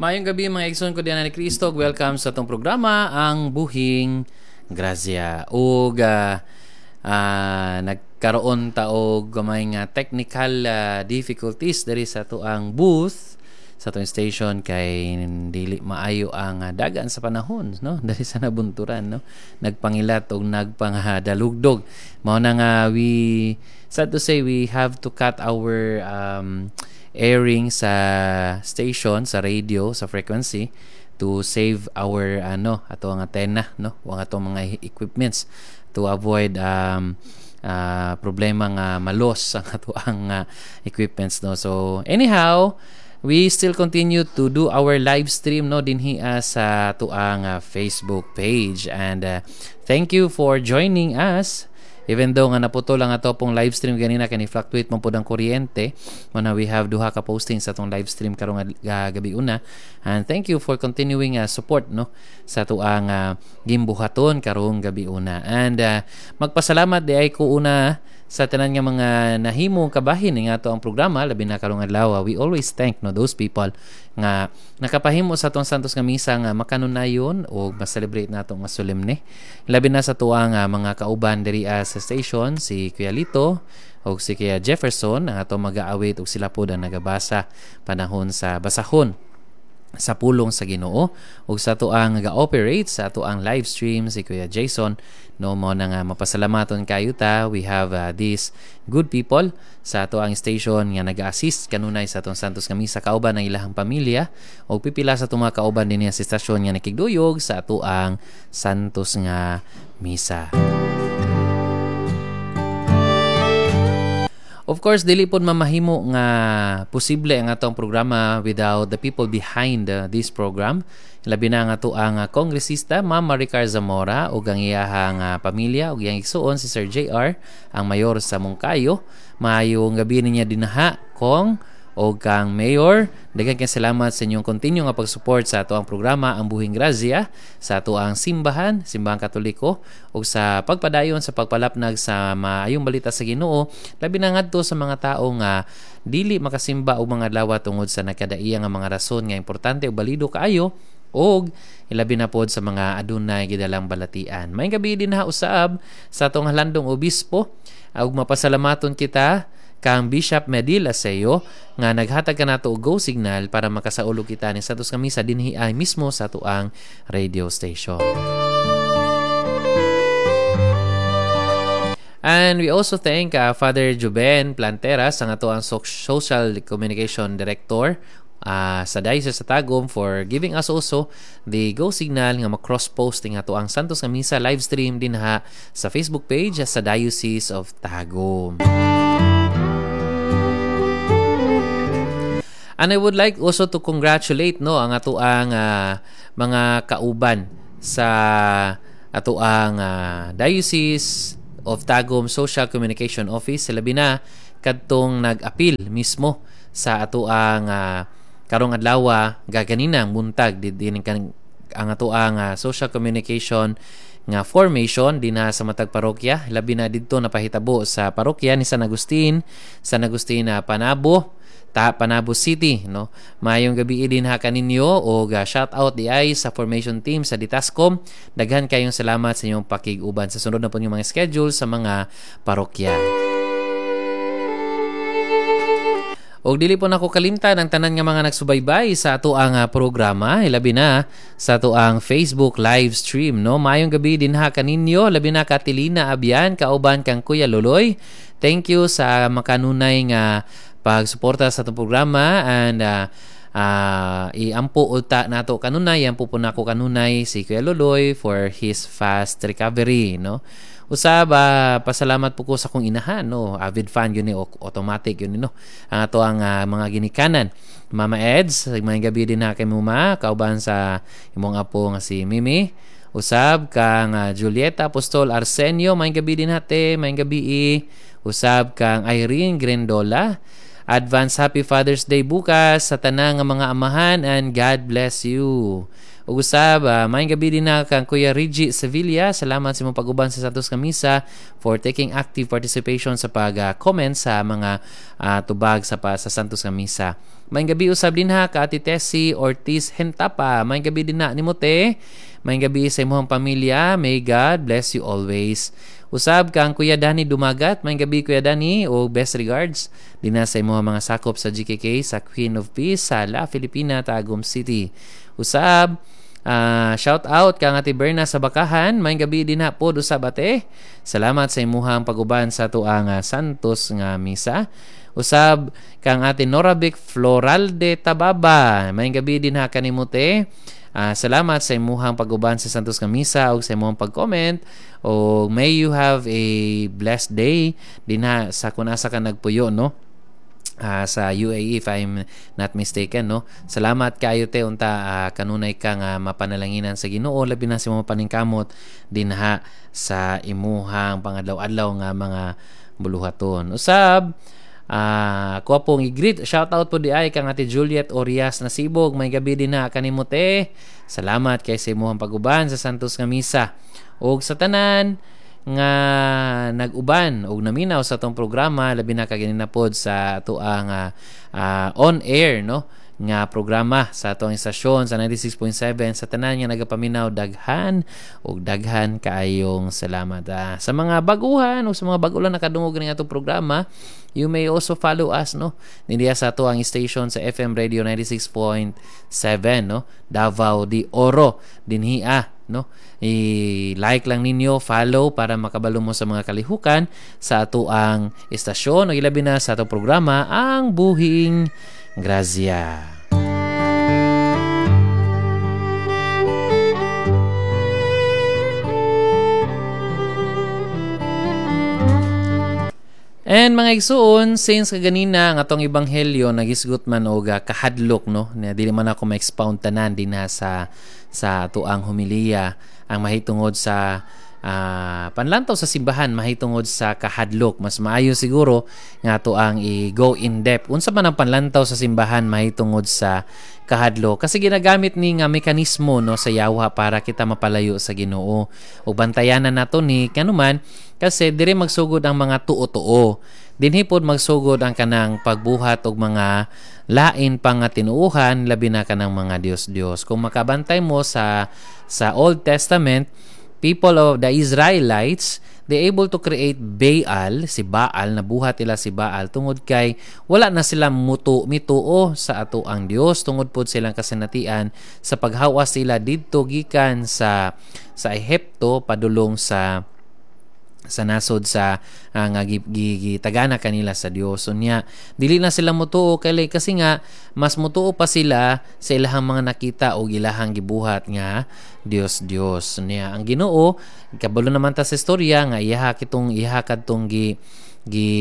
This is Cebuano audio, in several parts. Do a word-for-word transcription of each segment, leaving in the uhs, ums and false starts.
Maayong gabi mga igsoon ko diyan ni Kristo. Welcome sa atong programa ang Buhing Grazia. Ug uh, uh, nagkaroon ta og gamay nga technical uh, difficulties diri sa atoang booth sa atong station kay dili maayo ang uh, dagan sa panahon no diri sa nabunturan no nagpangilat og nagpangadalugdog mao na nga we sad to say we have to cut our um, airing sa station sa radio sa frequency to save our ano ato ang antenna no o ang atong mga equipments to avoid um, uh, problema nga malos ang ato ang uh, equipments no so anyhow we still continue to do our live stream no dinhi uh, sa atoang uh, Facebook page and uh, thank you for joining us Even though nga naputol ang ato pong live stream ganina kani fluctuate man pud ang kuryente, mao we have duha ka posting sa atong live stream karong uh, gabi una. And thank you for continuing uh, support no sa atoang uh, gimbuhaton karong gabi una. And uh, magpasalamat di ay ko una sa tanan nga mga nahimong kabahin nga ato ang programa labi na karong adlaw we always thank no those people nga nakapahimo sa atong Santos nga misa nga makanunayon o ma-celebrate nato nga solemne labi na sa tuang uh, mga kauban diri uh, sa station si Kuya Lito o si Kuya Jefferson ang ato mag-aawit og sila pod ang nagabasa panahon sa basahon sa pulong sa Ginoo ug sa atoang ga-operate sa atoang live stream si Kuya Jason no mo na nga mapasalamaton kayo ta we have uh, these good people sa atoang station nga nag-assist kanunay sa atong Santos nga misa kauban ang ilahang pamilya ug pipila sa atong mga kauban dinhi sa istasyon nga nakigduyog sa atoang Santos nga misa. Of course, dili pod mamahimo nga posible ang atong programa without the people behind uh, this program. Labi na nga ato ang uh, kongresista Ma'am Maricar Zamora ug ang iyahang uh, pamilya ug iyang igsuon si Sir J R ang mayor sa Monkayo. Maayong gabi niya dinaha kong o kang Mayor. Daghan kay salamat sa inyong continue nga pag-support sa ato ang programa ang Buhing Grazia, sa ato ang simbahan, Simbahang Katoliko ug sa pagpadayon sa pagpalapnag sa maayong balita sa Ginoo, labi na ngadto sa mga tawo nga dili makasimba og mga adlaw tungod sa nakadaiya nga mga rason nga importante ug balido kaayo og ilabi na pod sa mga adunay gidalang balatian. Maayong gabi dinha usab sa atong halandong obispo ug mapasalamaton kita kang Bishop Medil Aseo nga naghatag kanato og go signal para makasaulog kita ni Santos nga misa dinhi ay mismo sa atoang radio station. And we also thank uh, Father Juben Planteras ang atoang social communication director uh, sa Diocese sa Tagum for giving us also the go signal nga ma-cross-posting ato ang Santos nga Misa live stream dinha sa Facebook page sa Diocese of Tagum. And I would like also to congratulate no ang atoang uh, mga kauban sa atoang uh, Diocese of Tagum Social Communication Office labi na kadtong nag-appeal mismo sa atoang uh, karong adlaw gaganinang buntag din ang atoang uh, social communication nga formation dinha sa matag parokya labi na didto napahitabo sa parokya ni San Agustin, San Agustin uh, Panabo ta Panabo City no. Maayong gabi dinha kaninyo og uh, shout out di ay sa formation team sa Ditascom. Daghan kayong salamat sa inyong pakig-uban sa sunod na po yung mga schedule sa mga parokya. Og dili po nako kalimtan ang tanan nga mga nagsubaybay sa ato ang uh, programa, ilabi na sa ato ang Facebook live stream no. Maayong gabi dinha kaninyo, labi na Katilina Abian kauban kang Kuya Loloy. Thank you sa makanunay nga pagsuporta sa atong programa and uh, uh, iampo uta nato kanunay, iampo po nako kanunay si Kuya Loloy for his fast recovery no. Usab uh, pasalamat po ko sa kong inahan no, avid fan yun ni automatic yun ni no. Ang ato ang uh, mga ginikanan. Mama Eds, maayong gabi din na kay Muma kauban sa imong apo nga si Mimi. Usab kang uh, Julieta Apostol Arsenio, maayong gabi din hate, maayong gabi. Usab kang Irene Grendola. Advance Happy Father's Day bukas sa tanang nga mga amahan and God bless you. Ug usab uh, maayong gabi din na kang Kuya Reggie Sevilla. Salamat sa imong pag-uban sa Santos nga Misa for taking active participation sa pag-comment uh, sa mga uh, tubag sa pa, sa Santos nga Misa. Maayong gabi usab din ha ka Ate Tessie Ortiz Hentapa. Maayong gabi din na nimo te. Maayong gabi sa imong pamilya. May God bless you always. Usab kang Kuya Danny Dumagat. Maayong gabi Kuya Danny o best regards din na sa imong mga sakop sa G K K sa Queen of Peace sa La Filipina, Tagum City. Usab Uh, shout out kang Ate Berna sa Bakahan. Maayong gabi din na pod usab ate. Salamat sa imuhang pag-uban sa tuang uh, Santos nga misa. Usab kang Ate Norabic Floralde Tababa. Maayong gabi din ha kanimo te. Uh, salamat sa imuhang pag-uban sa Santos nga misa ug sa imuhang pag-comment. O may you have a blessed day din ha sa kung asa ka nagpuyo, no? Uh, sa U A E if I'm not mistaken, no? Salamat kayo te unta uh, kanunay ka nga mapanalanginan sa Ginoo, labi na sa imong paningkamot dinha sa imuhang pangadlaw-adlaw nga mga buluhaton. Usab uh, kuha pong i-greet, shout out po di ay kang Ate Juliet Orias Nasibog. May gabi din na kanimo te. Salamat kay sa imuhang pag-uban sa Santos nga Misa. Og sa tanan nga nag-uban og naminaw sa atong programa, labi na kaganina pod sa atuang uh, uh, on air, no, nga programa sa atong istasyon sa ninety-six point seven. Sa tanan nga nagapaminaw, daghan og daghan kaayong salamat. Uh, sa mga baguhan o sa mga bag-o lang nakadungog ning atong programa, you may also follow us, no, dinhi sa ato ang station sa F M Radio ninety-six point seven, no, Davao de Oro dinhi ah, no. I-like lang ninyo, follow para makabalo mo sa mga kalihukan sa ato ang istasyon o ilabi na sa atong programa ang Buhing Grazia. And mga igsuon, since kaganina ang atong ebanghelyo nagisgot man og kahadlok, no, na dili man ako ma-expound tanan dinha sa sa atuang homiliya ang mahitungod sa uh, panlantaw sa simbahan mahitungod sa kahadlok. Mas maayo siguro nga atuang i-go in depth unsa man ang panlantaw sa simbahan mahitungod sa kahadlok, kasi ginagamit ni nga mekanismo, no, sa yawa para kita mapalayo sa Ginoo. Ug bantayanan nato ni kanuman kasi diri magsugod ang mga tuo-tuo. Dinhi pod magsugod ang kanang pagbuhat og mga lain pa nga tinuohan, labi na kanang mga Dios-Dios. Kung makabantay mo sa sa Old Testament, people of the Israelites, they able to create Baal, si Baal, nabuhat nila si Baal tungod kay wala na sila mutu mituo sa ato ang Dios, tungod pod silang kasinatian sa paghawas sila didto gikan sa sa Ehipto padulong sa sa nasod sa uh, nga gitagana kanila sa Dios. So niya dili na sila mutuo kay kasi nga mas mutuo pa sila sa ilahang mga nakita o ilahang gibuhat nga Dios Dios. So niya ang Ginoo kabalo naman ta sa istorya nga iyaha kitong iha kadtong gi gi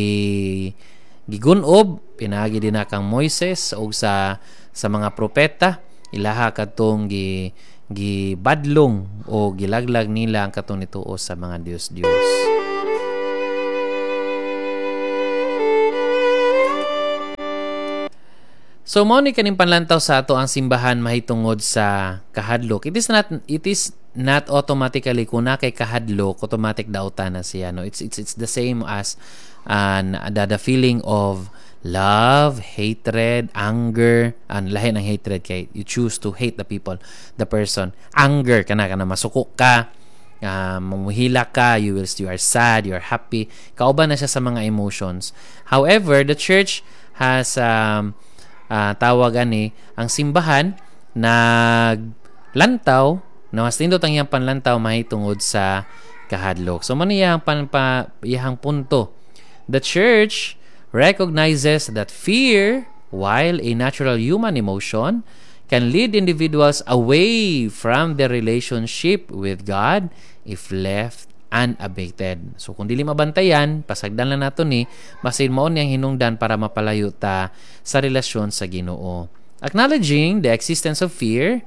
gigunob pinaagi din na kang Moises og sa sa mga propeta, ilaha kadtong gi gibadlong o gilaglag nila ang katong nituo sa mga Dios-Dios. So mao ni kaning panlantaw sa ato ang simbahan mahitungod sa kahadlok. It is not it is not automatically kung na kay kahadlok automatic dautan na siya, no. It's it's it's the same as uh, the, the feeling of love, hatred, anger. Ang lahi ng hatred kay you choose to hate the people, the person. Anger kana kana masuko ka, uh, mamuhila ka, you will you are sad, you are happy. Kauban na siya sa mga emotions. However, the church has um, uh, tawag ani ang simbahan naglantaw na mas nindot ang iyang panlantaw mahitungod sa kahadlok. So man iyang pan, pa, iyang punto. The church recognizes that fear, while a natural human emotion, can lead individuals away from their relationship with God if left unabated. So kung dili mabantayan, pasagdan lang nato ni, basin mao niyang hinungdan para mapalayo ta sa relasyon sa Ginoo. Acknowledging the existence of fear,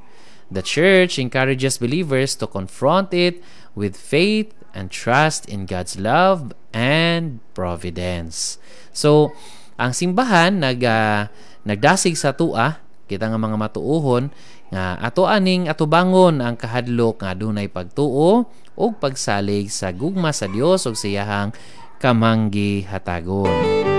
the church encourages believers to confront it with faith and trust in God's love and providence. So, ang simbahan nag uh, nagdasig sa tua, Kita nga mga matuohon nga ato aning atubangon ang kahadlok nga adunay pagtuo ug pagsalig sa gugma sa Dios ug sa iyahang kamanggihatagon.